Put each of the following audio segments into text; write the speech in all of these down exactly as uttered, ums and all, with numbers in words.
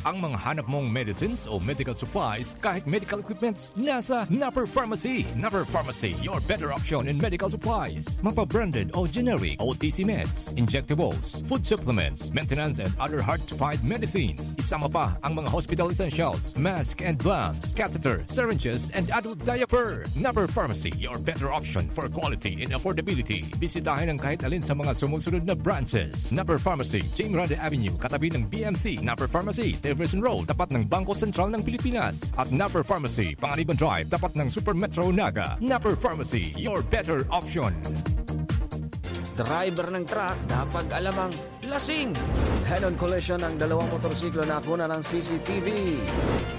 Ang mga hanap mong medicines o medical supplies, kahit medical equipments, nasa Napper Pharmacy. Napper Pharmacy, your better option in medical supplies. Mapa branded o generic, O T C meds, injectables, food supplements, maintenance and other hard-to-find medicines. Isama pa ang mga hospital essentials, mask and gloves, catheter, syringes, and adult diaper. Napper Pharmacy, your better option for quality and affordability. Bisitahin ang kahit alin sa mga sumusunod na branches. Napper Pharmacy, Jing Rada Avenue, katabi ng B M C. Napper Pharmacy, Jefferson Road, tapat ng Bangko Sentral ng Pilipinas. At Napper Pharmacy, Panganiban Drive, tapat ng Super Metro Naga. Napper Pharmacy, your better option. Driver ng truck, dapat alamang lasing. Head-on collision ng dalawang motorsiklo na kuna ng C C T V.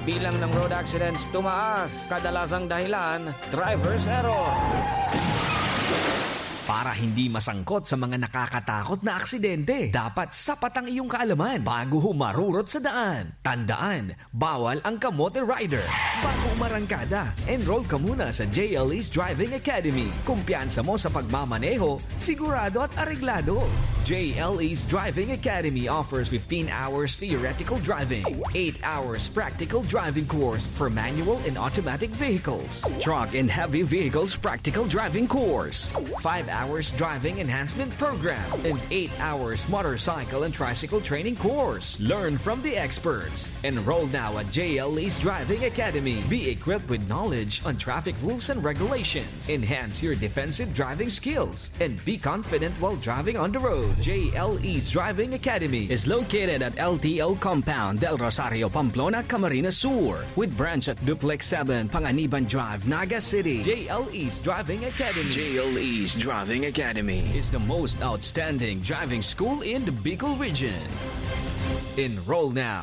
Bilang ng road accidents tumaas, kadalasang dahilan, driver's error. Para hindi masangkot sa mga nakakatakot na aksidente, dapat sapat ang iyong kaalaman bago humarurot sa daan. Tandaan, bawal ang kamote rider. Bago umarangkada, enroll ka muna sa J L E's Driving Academy. Kumpiyansa mo sa pagmamaneho, sigurado at areglado. J L E's Driving Academy offers fifteen hours theoretical driving, eight hours practical driving course for manual and automatic vehicles, truck and heavy vehicles practical driving course, five hours driving enhancement program, and eight hours motorcycle and tricycle training course. Learn from the experts. Enroll now at J L E's Driving Academy. Be equipped with knowledge on traffic rules and regulations. Enhance your defensive driving skills and be confident while driving on the road. J L E's Driving Academy is located at L T O Compound, Del Rosario, Pamplona, Camarines Sur, with branch at Duplex seven, Panganiban Drive, Naga City. J L E's Driving Academy. J L E's Driving Academy is the most outstanding driving school in the Bicol region. Enroll now.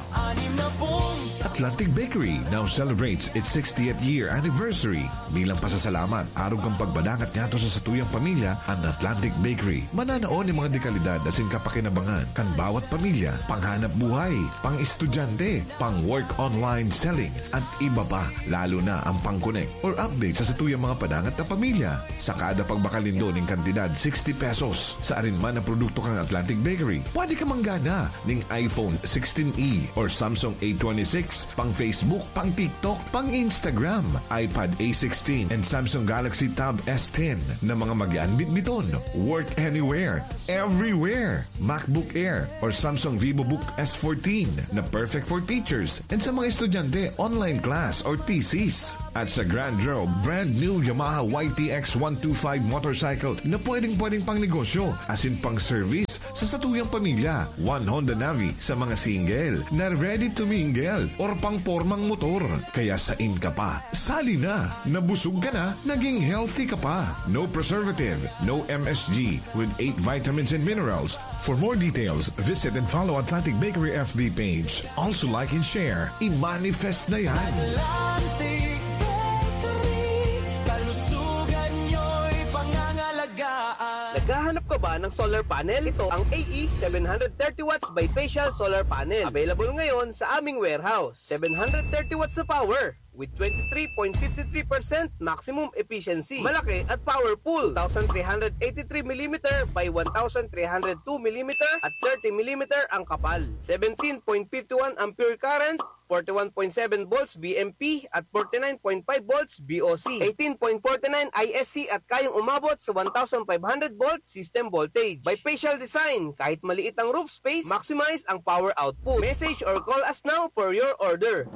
Atlantic Bakery now celebrates its sixtieth year anniversary. Bilang pasasalamat, arog kan pagbadangat ngadto sa satuyang pamilya, an Atlantic Bakery mananao nin mga dekalidad asin kapakinabangan kan bawat pamilya, panghanap buhay, pang-estudyante, pang-work online selling, at iba pa, lalo na ang pang-connect or update sa satuyang mga padangat na pamilya. Sa kada pagbakal nindo nin kantidad sixty pesos sa arin man na produkto kan Atlantic Bakery, pwede ka manggana nin iPhone sixteen E or Samsung A twenty-six, pang Facebook, pang TikTok, pang Instagram, iPad A sixteen, and Samsung Galaxy Tab S ten na mga magian bitbiton. Work anywhere, everywhere. MacBook Air or Samsung VivoBook S fourteen na perfect for teachers and sa mga estudyante, online class or thesis. At sa Grand Draw, brand new Yamaha Y T X one two five motorcycle na pwedeng-pwedeng pang negosyo asin pang service sa satuyang pamilya. One Honda Navi sa mga single na ready to mingle or pang pormang motor. Kaya sain ka pa? Sali na! Nabusog ka na, naging healthy ka pa. No preservative, no M S G, with eight vitamins and minerals. For more details, visit and follow Atlantic Bakery F B page. Also like and share. I-manifest na yan! Atlantic Bakery, kalusugan nyo'y pangangalagaan. Naghahanap ka ba ng solar panel? Ito ang A E seven hundred thirty watts bifacial solar panel. Available ngayon sa aming warehouse. Seven hundred thirty watts na power with twenty-three point five three percent maximum efficiency. Malaki at powerful. Two thousand three hundred eighty-three millimeter by one thousand three hundred two millimeter at thirty millimeter ang kapal. Seventeen point five one ampere current, forty-one point seven volts V M P at forty-nine point five volts V O C, eighteen point forty-nine I S C at kayang umabot sa one thousand five hundred volt system voltage. Bifacial design, kahit maliit ang roof space, maximize ang power output. Message or call us now for your order.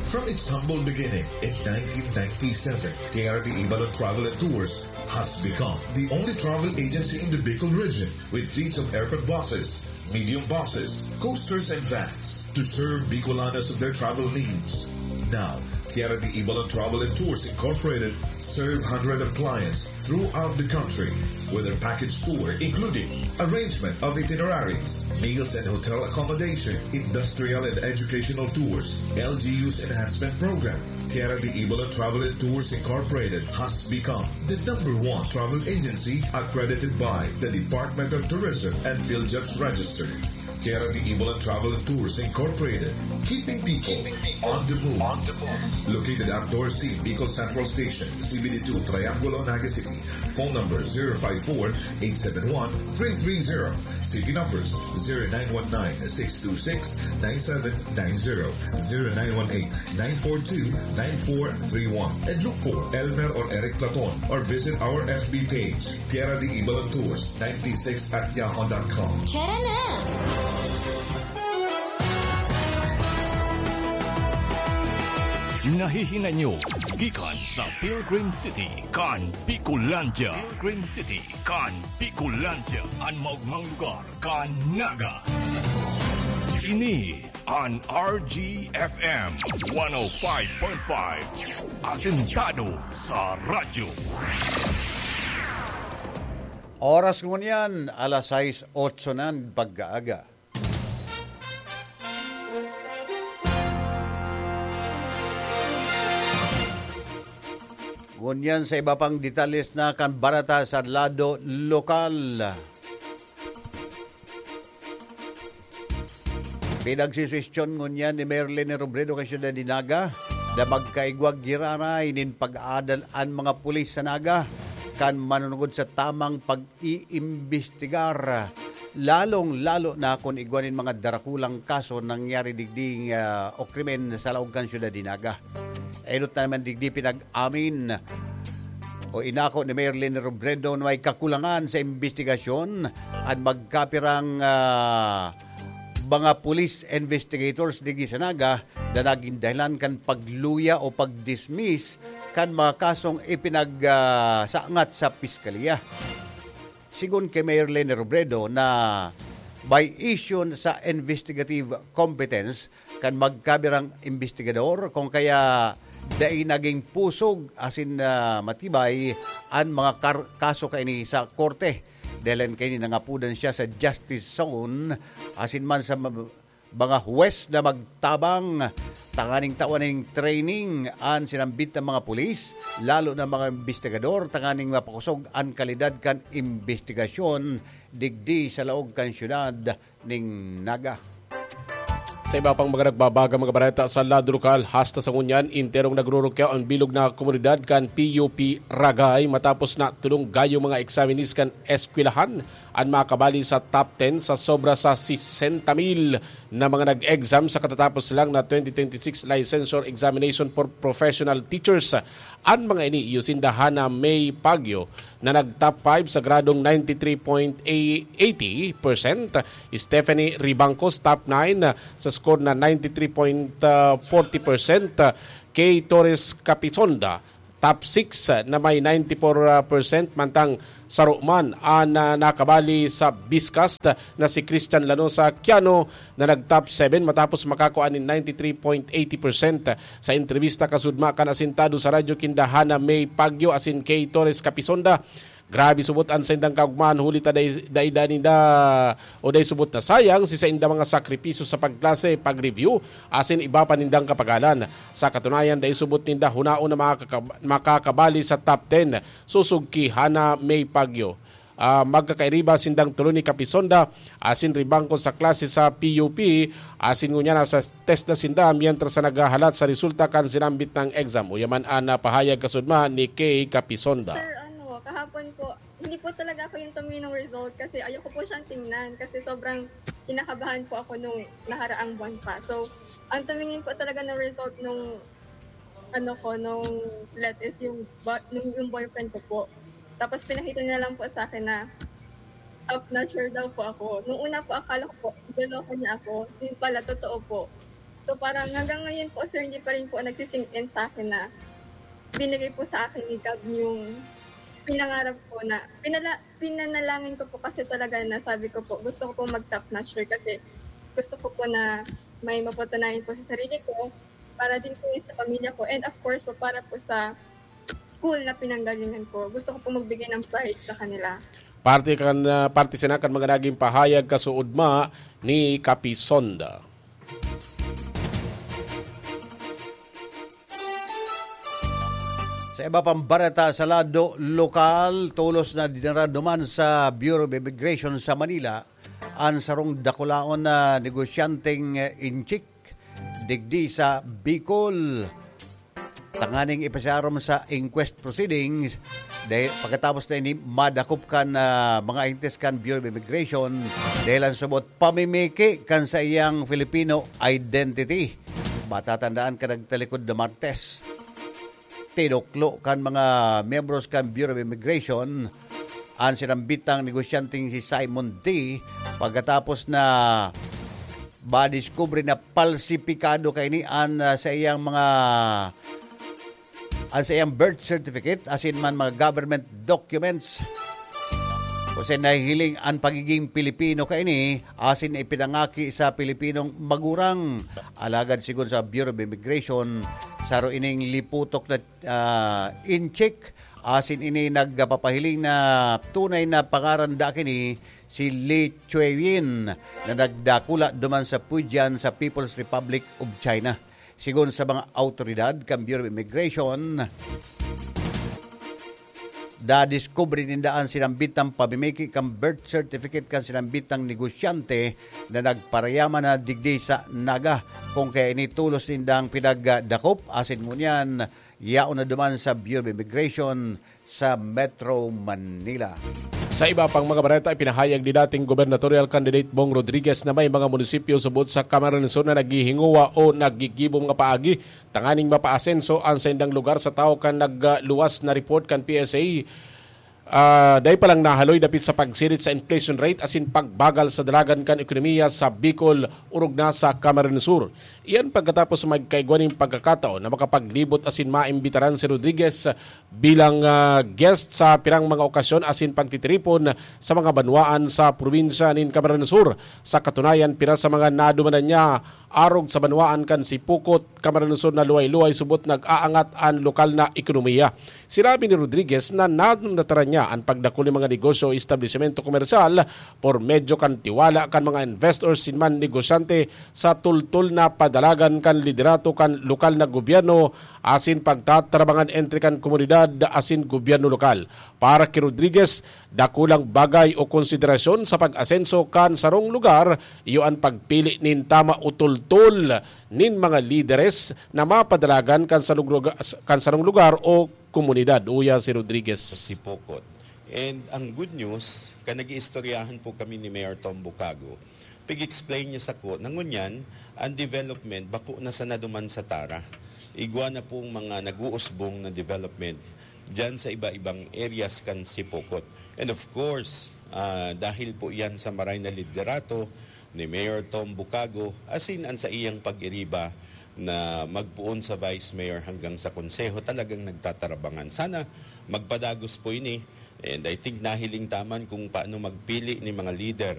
From its humble beginning in nineteen ninety-seven, Tierra de Ibalon Travel and Tours has become the only travel agency in the Bicol region with fleets of aircon buses, medium buses, coasters, and vans to serve Bicolanos of their travel needs. Now, Tierra de Ibalon Travel and Tours Incorporated serve hundreds of clients throughout the country with their package tour, including arrangement of itineraries, meals and hotel accommodation, industrial and educational tours, L G U's enhancement program. Tierra de Ibalon Travel and Tours Incorporated has become the number one travel agency accredited by the Department of Tourism and PhilJobs Register. Tierra de Ibalan Travel and Tours Incorporated, keeping people on the move. Located at Dorsey, Bicol Central Station, C B D two, Triangulo, Naga City. Phone number zero five four, eight seven one, three three zero. C P numbers zero nine one nine, six two six, nine seven nine zero, zero nine one eight, nine four two, nine four three one. And look for Elmer or Eric Platon or visit our F B page, Tierra de Ibalan Tours ninety-six at yahoo dot com. Tara na! Nahihinay nyo gikan sa Pilgrim City kan Bicolandia. Pilgrim City kan Bicolandia, an maogmang lugar kan Naga. Ini an R G F M one oh five point five, asentado sa radyo. Oras ngunyan, alas sais otso na pag-aaga. Ngunyan sa iba pang detalles na kan bareta sa lado lokal. Pinagsiswestiyon ngunyan ni Mayor Leni Robredo kan siyudad ni Naga na magkaigwa giraray nin pag-aadal an mga pulis sa Naga kan manunungod sa tamang pag-iimbestigar, lalong-lalo na kun igwa nin mga darakulang kaso nangyari digdi, ah, o krimen sa laog kan siyudad ni Naga. Enot na naman digdi pinag-amin o inako ni Mayor Leni Robredo na may kakulangan sa imbestigasyon at magkapirang, ah, mga police investigators digdi sa Naga na naging dahilan kan pagluya o pag-dismiss kan mga kasong ipinag, ah, sangat sa piskalya. Sigon kay Mayor Leni Robredo na by issue sa investigative competence kan magkabirang investigador, kung kaya dai naging pusog asin, ah, matibay an mga kar-, kaso kaini sa korte. Dahilan kaini nangapodan siya sa justice zone asin man sa ma-, mga huwes na magtabang tanganing tawan ning training an sinambit na mga pulis, lalo na mga investigador, tanganing mapakosog an kalidad kan imbestigasyon digdi sa laog kan siyudad ning Naga. Sa iba pang mga nagbabagang mga bareta sa lado lokal, hasta sa ngunyan, enterong nagrurukyaw ang bilog na komunidad kan P U P Ragay matapos na tulong gayo mga examinees kan eskwelahan an makabali sa top ten sa sobra sa sesenta mil na mga nag-exam sa katatapos lang na twenty twenty-six Licensure Examination for Professional Teachers. An mga ini iyo sinda Hana May Pagyo na nag-top five sa gradong ninety-three point eighty percent, Stephanie Ribancos top nine sa score na ninety-three point forty percent, Kay Torres Capisonda top six na may ninety-four percent, mantang saro man an, ah, nakabali sa Biscast na si Christian Lanosa Quiano na nag-top seven matapos makakua nin ninety-three point eighty percent. Sa entrevista kasudma kan asentado sa radyo kinda Hana May Pagyo asin Kay Torres Capisonda, grabe subot an saindang kaugmahan huli ta dai, dai, dai ninda o dai subot na sayang si sainda mga sakripisyo sa pagklase, pag-review, asin iba pa nindang kapagalan. Sa katunayan, dai subot ninda hunaon na makakab-, makakabali sa top ten, sosog ki Hana May Pagyo. Ah, magkakairiba sindang tulo ni Kapisonda asin Ribangko sa klase sa P U P, asin ngunyan nasa test na sinda mientras sa naghahalat sa resulta kan sinambit ng exam. Uyaman an, ah, pahayag kasudma ni Kay Kapisonda. Sir, ano, kahapon po, hindi po talaga ako yung tumingin ng result kasi ayoko po siyang tingnan kasi sobrang kinakabahan po ako nung naharaang buwan pa. So, ang tumingin po talaga ng result nung ano ko, nung let is yung, ba- nung, yung boyfriend ko po. Tapos pinakita niya lang po sa akin na top notcher daw po ako. Nung una po, akala ko po, niloloko niya ako. Yun pala, totoo po. So parang hanggang ngayon po, sir, hindi pa rin po nagsisink in sa akin na binigay po sa akin ni God yung pinangarap ko na pinala, pinanalangin ko po kasi talaga na sabi ko po, gusto ko po mag-top notcher kasi gusto ko po na may mapatunayan po sa sarili ko, para din po sa pamilya ko, and of course po, para po sa school na pinanggalingan ko. Gusto ko po magbigay ng pride sa kanila. Parte kan, ah, parte sana kan mga naging pahayag kasuodma ni Kapisonda. Sa iba pang bareta sa lado lokal, tolos na dinara duman sa Bureau of Immigration sa Manila an sarong dakulaon na negosyanteng, eh, inchik digdi sa Bicol. Tanganing ipasiarom sa inquest proceedings, dahil pagkatapos na ini madakop kan, ah, mga agentes kan Bureau of Immigration, dahil ang subot pamimiki kan sa iyang Filipino identity. Matatandaan ka nagtalikod na Martes, tinuklo kan mga miyembros kan Bureau of Immigration an sinambitang negosyanteng si Simon D pagkatapos na madiskubre na palsipikado kaini an, ah, sa iyang mga, an sa iyang birth certificate asin man mga government documents. Kasi nahihiling an pagiging Pilipino kaini asin ipinangaki sa Pilipinong magurang. Alagad sigon sa Bureau of Immigration, saro ining liputok na, ah, inchik, asin ini nagpapahiling na tunay na pangaran da kini si Li Chueyin na nagdakula duman sa Fujian sa People's Republic of China. Sigon sa mga awtoridad kan Bureau of Immigration, dadiskubre ninda an sinambitang pamimiki kan birth certificate kan sinambitang negosyante na nagparayaman na digdi sa Naga. Kung kaya ini tolos nindang pinagdakop, asin ngunyan, yaon na duman sa Bureau of Immigration sa Metro Manila. Sa iba pang mga bareta, ipinahayag ni dating gubernatorial candidate Bong Rodriguez na may mga munisipyo subot sa Camarines Sur na naghihingowa o naggigibo mga paagi tanganing mapaasenso an saindang lugar sa tawo kan nagluwas na report kan P S A. Ah, dai pa lang nahaloy dapit sa pagsirit sa inflation rate asin pagbagal sa dalagan kan ekonomiya sa Bicol, orog na sa Camarines Sur. Iyan pagkatapos magkaigwa nin pagkakataon na makapaglibot asin maimbitaran si Rodriguez bilang, ah, guest sa pirang mga okasyon asin pagtitiripon sa mga banwaan sa probinsya nin Camarines Sur. Sa katunayan, pira sa mga nadumanan niya arog sa banwaan kan Sipocot, Camarines Sur na luway-luway subot nag-aangat an lokal na ekonomiya. Sinabi ni Rodriguez na nadunataran niya an pagdakul nin mga negosyo o establisimento komersyal por medyo kan tiwala kan mga investors sin man negosyante sa tultol na padalagan kan liderato kan lokal na gobyerno asin pagtatarabangan entre kan komunidad asin gobyerno lokal. Para ki Rodriguez, dakulang bagay o konsiderasyon sa pag-asenso kan sarong lugar iyo an pagpili nin tama o tultol nin mga lideres na mapadalagan kan sarong luga-, kan sarong lugar o komunidad, uya si Rodriguez. Sipocot. And ang good news, kan nag-iistoryahan po kami ni Mayor Tom Bucago, pig-explain niya sako na ngunyan, ang development, bako na sana duman sa Tara. Igwa na pong mga nag-uusbong na development dyan sa iba-ibang areas kan Sipocot. And of course, ah, dahil po yan sa maray na liderato ni Mayor Tom Bucago, asin an sa iyang pag-iriba na magpoon sa Vice Mayor hanggang sa Konseho, talagang nagtatarabangan. Sana magpadagos po ini. And I think nahiling ta man kung paano magpili ni mga leader